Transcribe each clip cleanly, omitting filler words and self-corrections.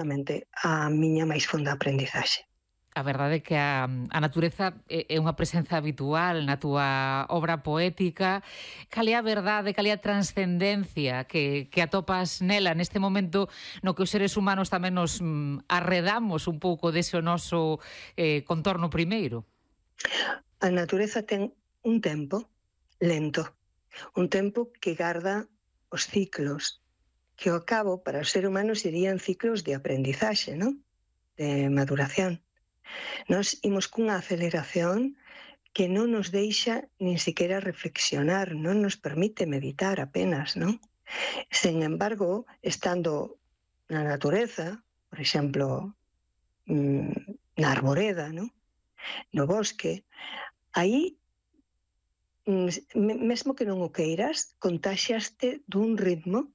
a miña máis fonda aprendizaxe. A verdade é que a natureza é unha presenza habitual na túa obra poética. Cal é a verdade, cal é a transcendencia que atopas nela neste momento no que os seres humanos tamén nos arredamos un pouco dese noso contorno primeiro? A natureza ten un tempo lento, un tempo que garda os ciclos, que ao cabo para os seres humanos serían ciclos de aprendizaxe, non? De maduración. Nos imos cunha aceleración que non nos deixa nin siquiera reflexionar, non nos permite meditar apenas, non? Sen embargo, estando na natureza, por exemplo, na arboreda, non? No bosque, aí, mesmo que non o queiras, contaxiaste dun ritmo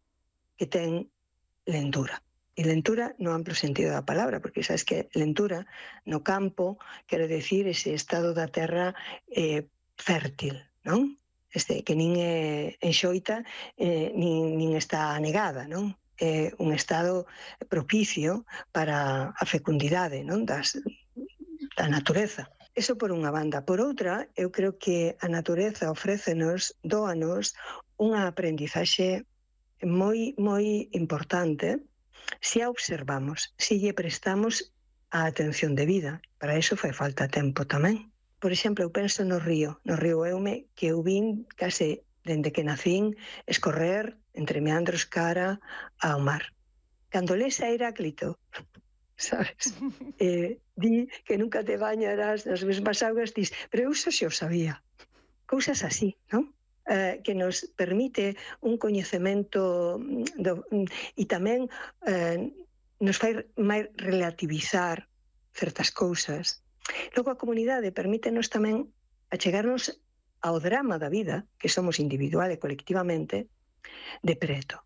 que ten lentura. E lentura no amplo sentido da palabra, porque sabes que lentura no campo quero decir ese estado da terra fértil, non? Que nin é enxoita nin está anegada, non? É un estado propicio para a fecundidade, non? Da natureza. Eso por unha banda. Por outra, eu creo que a natureza ofrécenos, dóanos, unha aprendizaxe moi importante se a observamos, se lle prestamos a atención debida. Para iso fai falta tempo tamén. Por exemplo, eu penso no río Eume, que eu vin case dende que nacín escorrer entre meandros cara ao mar. Cando les a Heráclito, sabes? Di que nunca te bañarás nas mesmas augas, dis, pero eu xa o sabía. Cousas así, non? Que nos permite un coñecemento e tamén nos fai máis relativizar certas cousas. Logo a comunidade permítenos tamén achegarnos ao drama da vida, que somos individual e colectivamente, de preto.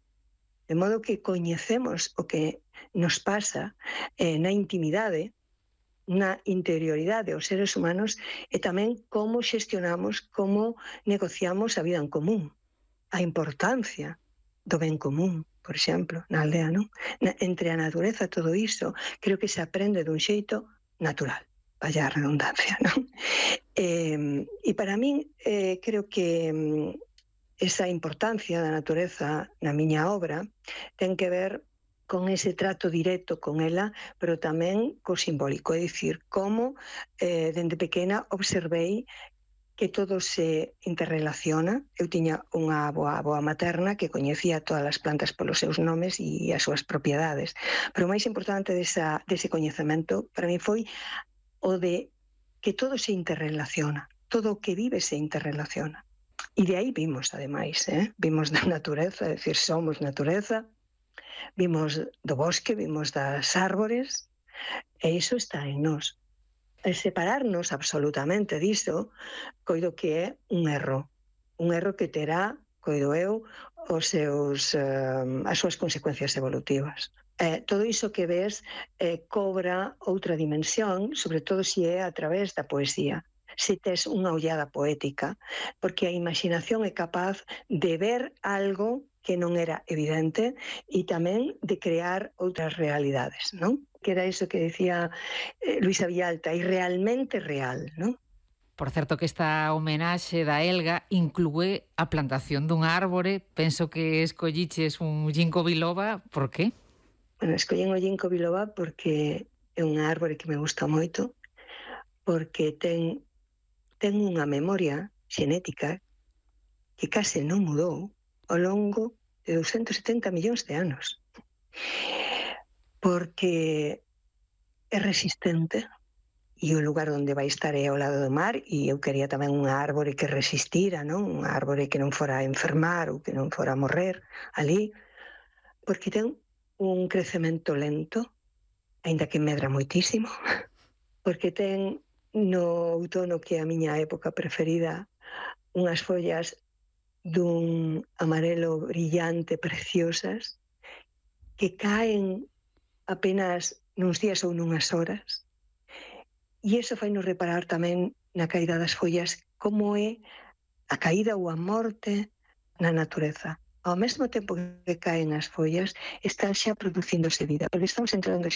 De modo que coñecemos o que nos pasa na intimidade, na interioridade dos seres humanos e tamén como xestionamos, como negociamos a vida en común. A importancia do ben común, por exemplo, na aldea, non? Entre a natureza, todo iso, creo que se aprende dun xeito natural, vaya a redundancia, non? E para min, creo que esa importancia da natureza na miña obra ten que ver con ese trato directo con ela, pero tamén co simbólico, é dicir, como dende pequena observei que todo se interrelaciona. Eu tiña unha avoa materna que coñecía todas as plantas polos seus nomes e as súas propiedades. Pero o máis importante dese coñecemento para mí foi o de que todo se interrelaciona, todo o que vive se interrelaciona. E de aí vimos, ademais, vimos da natureza, é dicir, somos natureza, vimos do bosque, vimos das árbores, e iso está en nós. Separarnos absolutamente diso, coido que é un erro que terá, coido eu, as súas consecuencias evolutivas. Todo iso que ves cobra outra dimensión, sobre todo se é a través da poesía, se tes unha ollada poética, porque a imaginación é capaz de ver algo que non era evidente e tamén de crear outras realidades, non? Que era iso que decía Luisa Vilalta, e realmente real, non? Por certo que esta homenaxe da Elga inclúe a plantación dunha árbore. Penso que escolliches un ginkgo biloba. Por qué? Bueno, escollín o ginkgo biloba porque é unha árbore que me gusta moito, porque ten unha memoria xenética que case non mudou ao longo de 270 millóns de anos. Porque é resistente e o lugar onde vai estar é ao lado do mar, e eu quería tamén unha árbore que resistira, non? Unha árbore que non fora a enfermar ou que non fora a morrer ali, porque ten un crecemento lento, aínda que medra moitísimo, porque ten no outono, que é a miña época preferida, unhas follas dun amarelo brillante, preciosas, que caen apenas nuns días ou nunhas horas. E iso fai nos reparar tamén na caída das follas, como é a caída ou a morte na natureza. Ao mesmo tempo que caen as follas, están xa producíndose vida, porque estamos entrando